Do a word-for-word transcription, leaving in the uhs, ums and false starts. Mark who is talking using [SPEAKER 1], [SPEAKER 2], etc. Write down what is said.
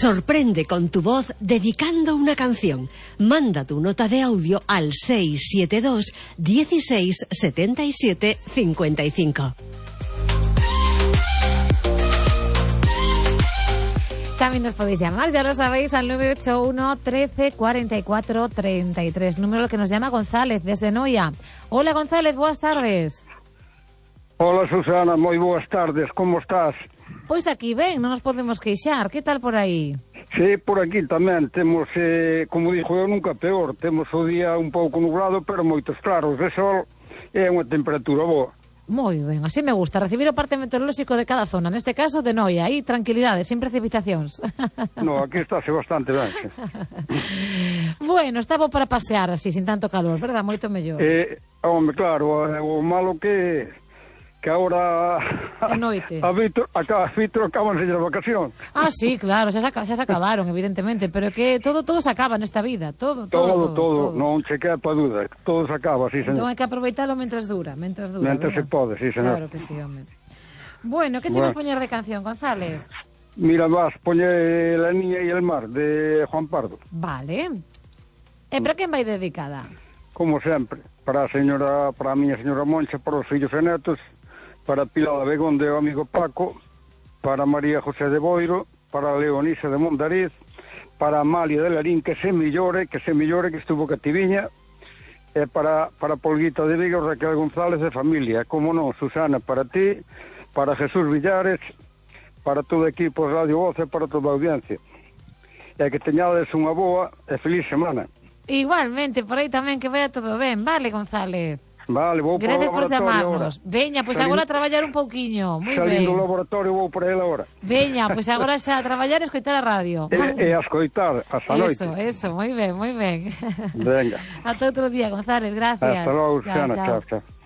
[SPEAKER 1] Sorprende con tu voz dedicando una canción. Manda tu nota de audio al seis siete dos, dieciséis, setenta y siete, cincuenta y cinco.
[SPEAKER 2] También nos podéis llamar, ya lo sabéis, al nueve ocho uno, trece, cuarenta y cuatro, treinta y tres. Número que nos llama González, desde Noia. Hola, González, buenas tardes.
[SPEAKER 3] Hola, Susana, moi boas tardes, como estás?
[SPEAKER 2] Pois aquí ben, non nos podemos queixar. Que tal por aí?
[SPEAKER 3] Sí, por aquí tamén temos, eh, como dixo eu, nunca peor. Temos o día un pouco nublado, pero moitos claros de sol e unha temperatura boa.
[SPEAKER 2] Moi ben, así me gusta, recibir o parte meteorolóxico de cada zona, neste caso de Noia, aí tranquilidade, sin precipitacións.
[SPEAKER 3] No, aquí estáse bastante ben.
[SPEAKER 2] Bueno, estaba para pasear así, sin tanto calor, verdad? Moito mellor.
[SPEAKER 3] Eh, home, claro, o malo que que agora
[SPEAKER 2] a noite.
[SPEAKER 3] A Víctor, acá, a Víctor acabanse as vacacións.
[SPEAKER 2] Ah, sí, claro, xa se, xa se acabaron, evidentemente, pero que todo todo se acaba nesta vida, todo,
[SPEAKER 3] Todo,
[SPEAKER 2] todo, todo,
[SPEAKER 3] todo,
[SPEAKER 2] todo.
[SPEAKER 3] non che quepa dúda, todo se acaba, sí, señor.
[SPEAKER 2] Entón hai que aproveitalo mentras dura, mentras dura.
[SPEAKER 3] Mentras se pode, sí, señor.
[SPEAKER 2] Claro que sí, home. Bueno, que che vas poñer de canción, González?
[SPEAKER 3] Mira, vas, poñe La niña y el mar, de Juan Pardo.
[SPEAKER 2] Vale. E para quen vai dedicada?
[SPEAKER 3] Como sempre, para a señora, para a miña señora Moncha, para os fillos e netos, para Pilar Begón de o amigo Paco, para María José de Boiro, para Leonisa de Mondariz, para Amalia de Larín, que se millore, que se millore, que estuvo cativiña, e para, para Polguita de Vigo, Raquel González de familia, como non, Susana, para ti, para Jesús Villares, para todo o equipo de Radio Voz e para toda a audiencia. E que teñades unha boa e feliz semana.
[SPEAKER 2] Igualmente, por aí tamén, que vaya todo ben, vale, González?
[SPEAKER 3] Vale, vou para o laboratorio.
[SPEAKER 2] Gracias por chamarnos. Veña, pois pues agora a traballar un pouquiño. Moi ben.
[SPEAKER 3] Salindo do laboratorio vou para ele agora.
[SPEAKER 2] Veña, pois pues agora xa a traballar e escoitar a radio.
[SPEAKER 3] E, e a escoitar, hasta noite.
[SPEAKER 2] Eso, eso, moi ben, moi ben.
[SPEAKER 3] Venga.
[SPEAKER 2] Ata outro día, González, gracias.
[SPEAKER 3] Hasta logo, Susana, chao, chao.